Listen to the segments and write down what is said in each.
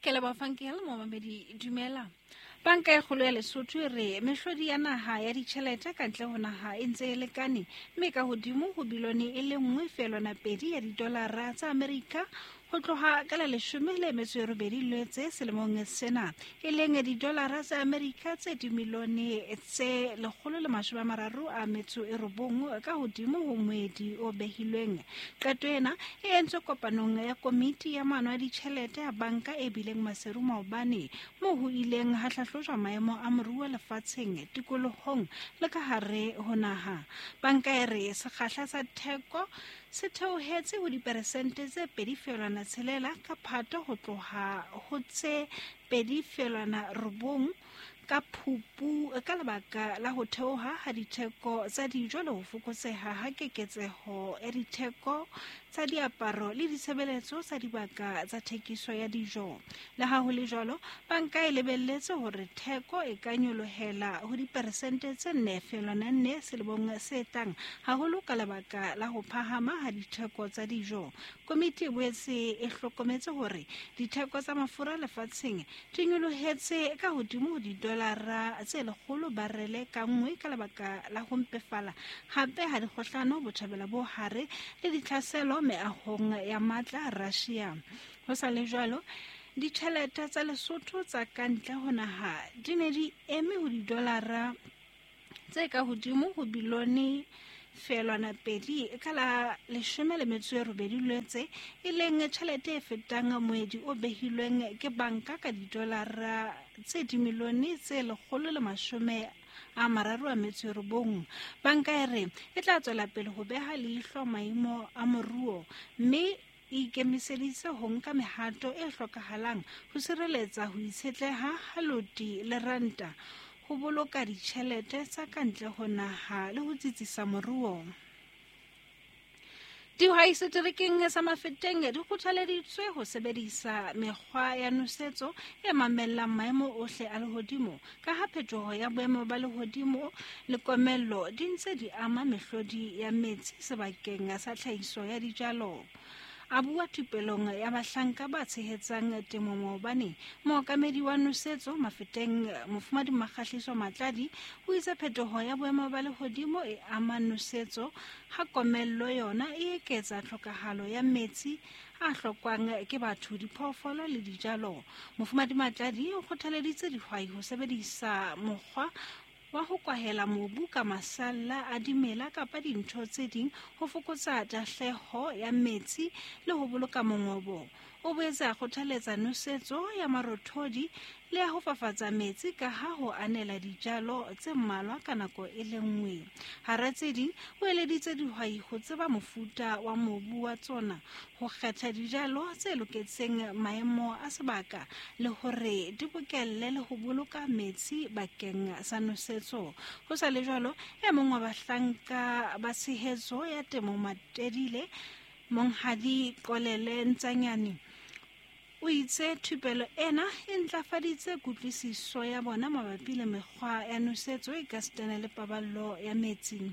Ke leboha Fankel, momamedi dumela. Banka e kgolo ya Lesotho e re mehlodi ya naha ya ditjhelete ka ntle ho naha e ntse e lekane mme ka hodimo ho bilione e le 1.2 ya didolara tsa Amerika ho tloha ka la 18 Lwetse selemong sena, e leng didolara tsa Amerika tse dimilione tse 139 ka hodimo ho moedi o behilweng. Qeto ena e entswe kopanong ya komiti ya maano a ditjhelete ya banka e bileng Maseru maobane, moo ho ileng ha hlahlojwa maemo a moruo lefatsheng, tikolohong le ka hare ho naha. Banka e re sekgahla sa theko se theohetse ho diperesente tse 2.6 ka Phato ho tloha ho tse 2.9 ka Phupu ka lebaka la ho theoha ha ditheko tsa dijo le ho fokotseha ha keketseho ya ditheko tsa diaparo le ditshebeletso tsa dibaka tsa thekiso ya dijo. Le ha ho le jwalo, banka e lebelletse hore theko e ka nyolohela ho diperesente tse 4.4 selemong se tlang, haholo ka lebaka la ho phahama ha ditheko tsa dijo. Komiti e boetse e hlokometse hore ditheko tsa mafura lefatsheng di nyolohetse ka hodimo ho didolara tse 100 barele ka nngwe ka lebaka la ho mpefala hape ha dikgohlano Botjhabela bo Hare le ditlhaselo meahong ya matla Russia. Ho sa le jwalo, ditjhelete tsa Lesotho tsa ka ntle ho naha di ne di eme ho didolara tse ka hodimo ho bilione 0.2 ka la 18 Lwetse, e leng tjhelete e fetang moedi o behilweng ke banka ka didolara tse dimilione tse 139. Banka e re e tla tswela pele ho beha leihlo maemo a moruo mme e ikemiseditse ho nka mehato e hlokahalang ho sireletsa ho itshetleha ha loti le ranta, ho boloka ditjhelete tsa ka ntle ho naha le ho tsitsisa moruo. Dihwai seterekeng sa Mafeteng di kgothaleditswe ho sebedisa mekgwa ya nosetso e mamellang maemo ohle a lehodimo, ka ha phetoho ya boemo ba lehodimo le komello di ntse di ama mehlodi ya metsi sebakeng sa tlhahiso ya dijalo. A bua thupelong ya bahlanka ba tshehetsang temo maobane, mookamedi wa nosetso Mafeteng Mofumadi Makgahliso Matladi o itse phetoho ya boemo ba lehodimo e ama nosetso, ha komello yona e eketsa tlhokahalo ya metsi a hlokwang ke batho, diphoofolo le dijalo. Mofumadi Matladi o kgothaleditse dihwai ho sebedisa mokgwa wa ho kwahela mobu ka masalla a dimela kapa dintho tse ding ho fokotsa tahleho ya metsi le ho boloka mongobo. O boetse a kgothaletsa nosetso ya marothodi le ya ho fafatsa metsi ka ha ho anela dijalo tse mmalwa ka nako e le nngwe. Hara tse ding, o eleditse dihwai ho tseba mofuta wa mobu wa tsona, ho kgetha dijalo tse loketseng maemo a sebaka le hore di bokelle le ho boloka metsi bakeng sa nosetso. Ho sa le jwalo, e mong wa bahlanka ba tshehetso ya temo Matedile, Monghadi Qolele Ntsanyane, o itse thupelo ena e ntlafaditse kutlwisiso ya bona mabapi le mekgwa ya nosetso e ka sitana le paballo ya metsi.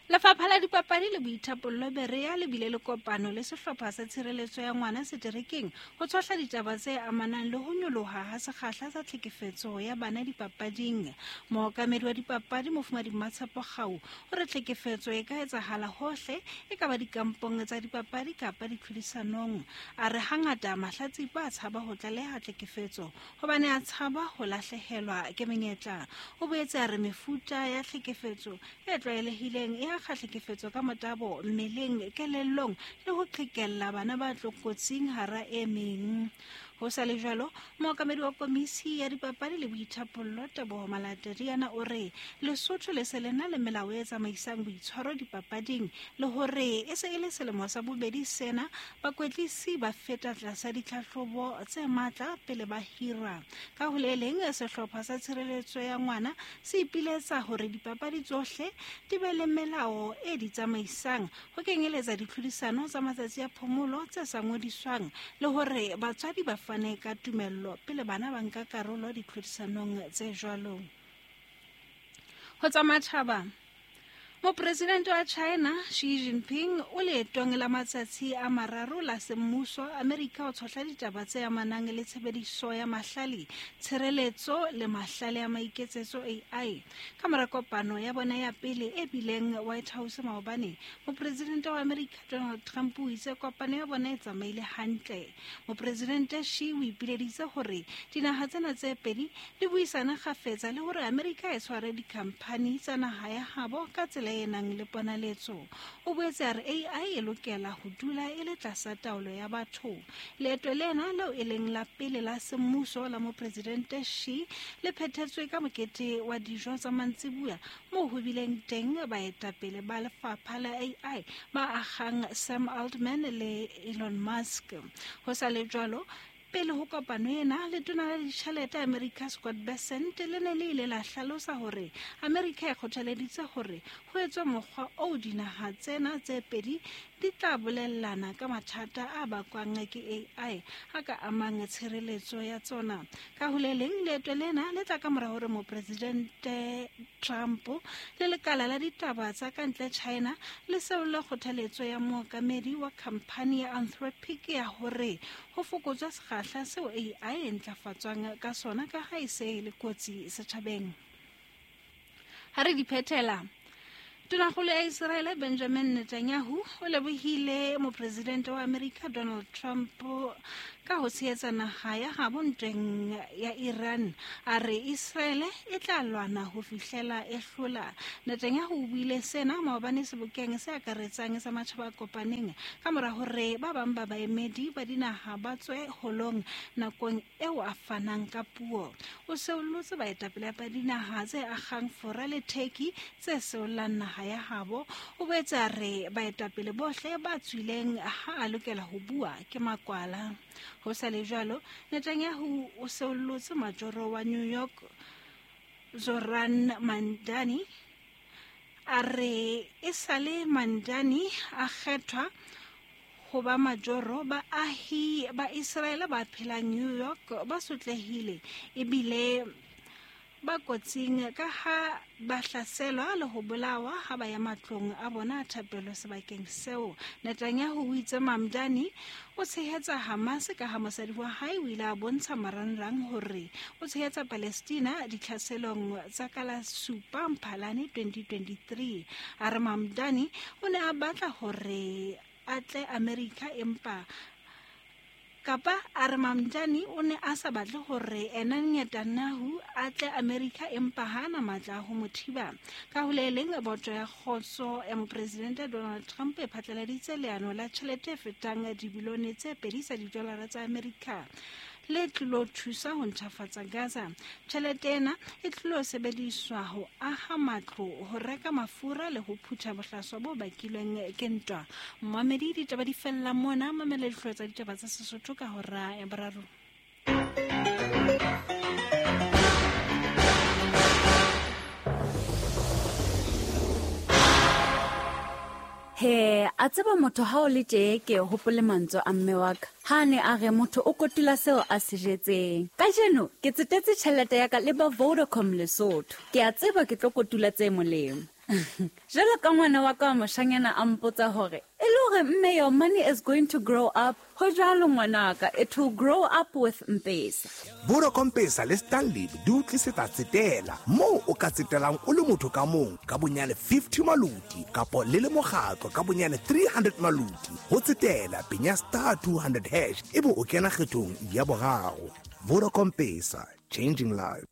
Lefapha la Dipapadi le Boithapollo Berea le bile le kopano le sehlopha sa tshireletso ya ngwana seterekeng ho tshohla ditaba tse amanang le ho nyoloha ha sekgahla sa tlhekefetso ya bana dipapading. Mookamedi wa dipapadi Mofumadi Mmatshepo Kgau o re tlhekefetso e ka etsahala hohle, e ka ba dikampong tsa dipapadi kapa ditlhodisanong. A re hangata mahlatsipa a tshaba ho tlaleha tlhekefetso hobane a tshaba ho lahlehelwa ke menyetla. O boetse a re mefuta ya tlhekefetso e tlwaelehileng e akga tlhekefetso ka motabo mmeleng, kelellong le ho qhekella bana ba tlokotsing hara e meng. Ho sa le jwalo, mookamedi wa komisi ya dipapadi le boithapollo Teboho Malatediana o re Lesotho le se le na le melao e tsamaisang boitshwaro dipapading le hore e se e le selemo sa bobedi sena bakwetlisi ba feta tlasa ditlhahlobo tse matla pele ba hira. Ka ho le leng, sehlopha sa tshireletso ya ngwana se ipiletsa hore dipapadi tsohle di be le melao e di tsamaisang, ho kenyeletsa ditlhodisano tsa matsatsi a phomolo tse sa ngodiswang le hore batswadi ba fane ka tumello pele bana ba nka karolo ditlhodisanong tse jwalo. Ho tsa matjhaba, Mopresidente wa China Xi Jinping o leetong la matsatsi a mararo la semmuso Amerika o tshohla ditaba tse amanang le tshebediso ya mahlale, tshireletso le mahlale a maiketsetso AI. Ka mora kopano ya bona ya pele e bileng White House maobane, mopresidente wa Amerika Donald Trump o itse kopano ya bona e tsamaile hantle. Mopresidente Xi o ipileditse hore dinaha tsena tse pedi di buisane kgafetsa le hore Amerika e tshware dikhamphani tsa naha ya habo ka tsela e nang le ponaletso. O boetse a re AI e lokela ho dula e le tlasa taolo ya batho. Leeto lena leo e leng la pele la semmuso la mopresidente Xi le phethetswe ka mokete wa dijo tsa mantsibuya moo ho bileng teng baetapele ba lefapha la AI ba akgang Sam Altman le Elon Musk. Ho sa le jwalo, pele ho kopano ena, letona la ditjhelete America Scott Bessent le ne le ile la hlalosa hore America e kgothaleditse hore ho etswe mokgwa oo dinaha tsena tse pedi di tla bolellana ka mathata a bakwang ke AI a ka amang tshireletso ya tsona. Ka ho le leng, leeto lena le tla ka mora hore mopresidente Trump le lekala la ditaba tsa ka ntle China le seolle kgothaletso ya mookamedi wa khamphani ya Anthropic ya hore ho fokotswe sekgahla seo AI e ntlafatswang ka sona ka ha e se e le kotsi setjhabeng. Ha re di phethela, Tonakgolo ya Iseraele Benjamin Netanyahu o lebohile mopresidente wa Amerika Donald Trump ka ho tshehetsa naha ya habo ntweng ya Iran. A re Iseraele e tla lwana ho fihlela e hlola. Netanyahu o buile sena maobane sebokeng se akaretsang sa matjhaba a kopaneng ka mora hore ba bang ba baemedi ba dinaha ba tswe holong nakong eo a fanang ka puo. O seollotse baetapele ba dinaha tse akgang Fora le Turkey tse seollang naha ya habo. O boetse a re baetapele bohle ba tswileng ha a lokela ho bua ke makwala. Ho sa le jwalo, Netanyahu o seollotse majoro wa New York Zohran Mamdani a re e sale Mamdani a kgethwa ho ba majoro, baahi ba Iseraele ba phelang New York ba sotlehile ebile ba kotsing ka ha ba hlaselwa le ho bolawa ha ba ya matlong a bona a thapelo sebakeng seo. Netanyahu o itse Mamdani o tshehetsa Hamas ka ha mosadi wa hae o ile a bontsha marangrang hore o tshehetsa Palestina ditlhaselong tsa ka la 7 Mphalane 2023. A re Mamdani o ne a batla hore a tle Amerika empa kapa a re Mamdani o ne a sa batle hore ena Netanyahu a tle Amerika empa ha ana matla a ho mo thiba. Ka ho le leng, boto ya kgotso ya mopresidente Donald Trump e phatlaladitse leano la tjhelete e fetang dibilione tse 2 tsa didolara tsa Amerika le tlilo thusa ho ntjhafatsa Gaza. Tjhelete ena e tlilo sebediswa ho aha matlo, ho reka mafura le ho phutha bohlaswa bo bakilweng ke ntwa. Mmamedi, ditaba di fella mona. Mamela dihlooho tsa ditaba tsa Sesotho ka hora ya boraro. He, a tseba motho ha o le tjee ke hopole mantswe a mme wa ka ha a ne a re motho o kotula seo a se jetseng. Kajeno ke tsetetse tjhelete ya ka le ba Vodacom Lesotho. Ke a tseba ke tlo kotula tse molemo. Jwalo ka ngwana wa ka wa moshanyana a mpotsa hore e le hore mme your money is going to grow up. Ho jwalo ngwanaka, it will grow up with Mpesa. Vodacom Pesa le Stanlib di o tlisetsa tsetela moo o ka tsetelang o le motho ka mong ka bonyane 50 maluti kapo le le mokgatlo ka bonyane 300 maluti. Ho tsetela penya star 200 hash ebe o kena kgethong ya boraro. Vodacom Pesa, changing lives.